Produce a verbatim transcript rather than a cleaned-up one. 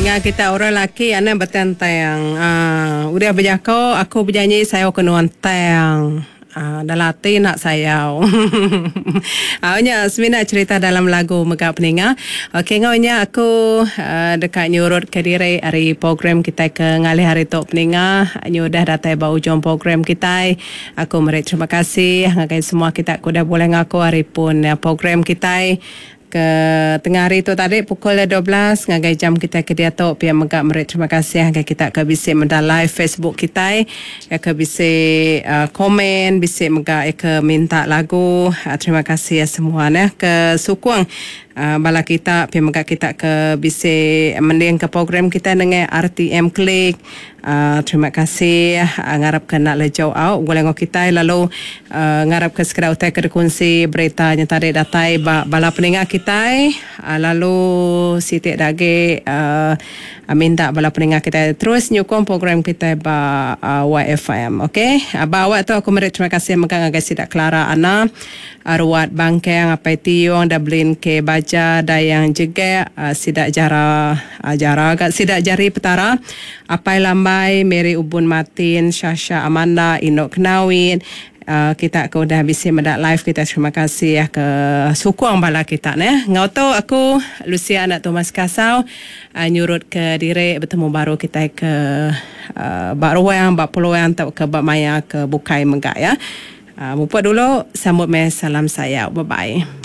Ninga kita orang laki anak betentang. Uh, udah bejako aku berjanji sayau ke nuan tang. Uh, dalam ati nak sayau. Uh, nya semina cerita dalam lagu mega peninga. Okey ngau nya aku uh, dekat nyurut ke diri hari program kita ke ngalih hari tu peninga. Nyu udah datai ba ujung program kita. Aku meri terima kasih ngagai semua kita ku udah boleh ngaku hari pun program kita ke tengah hari tu tadi pukul dua belas ngagai jam kita ke diatu pia mega meri terima kasih ngagai kita ke bisi meda live Facebook kita ke bisi uh, komen bisi mega ke minta lagu. Uh, terima kasih semua neh ke sukung uh, bala kita pia mega kita ke bisi mending ke program kita dengan R T M Klik. Uh, terima kasih uh, ngarap ke nak lejau out boleh ngau kita lalu uh, ngarap ke segera utai ke dikongsi berita yang tadi datai ba bala peninga kita uh, lalu sitik dage uh, minta bala peninga kita terus nyukung program kita ba uh, Y F M okey. Uh, ba awak tu aku meri terima kasih mega ngagai sidak Clara Ana Arwat Bangkang Apai Tiong Dublin K Baja Dayang Jegek uh, sidak Jara uh, Jara kat sidak Jari Petara Apai Lambai Mary Ubun Martin Shasha Amanda Indok Kenawin. Uh, kita ke udah bisi medak live kita terima kasih ya ke sukung bala kita neh. Ngau tu aku Lucia anak Thomas Kasau uh, nyurut ke direk bertemu baru kita ke uh, bak ruang bak peluang atau ke bak maya ke bukai mega ya. Uh, mupuk dulu sambut meh salam saya. Bye bye.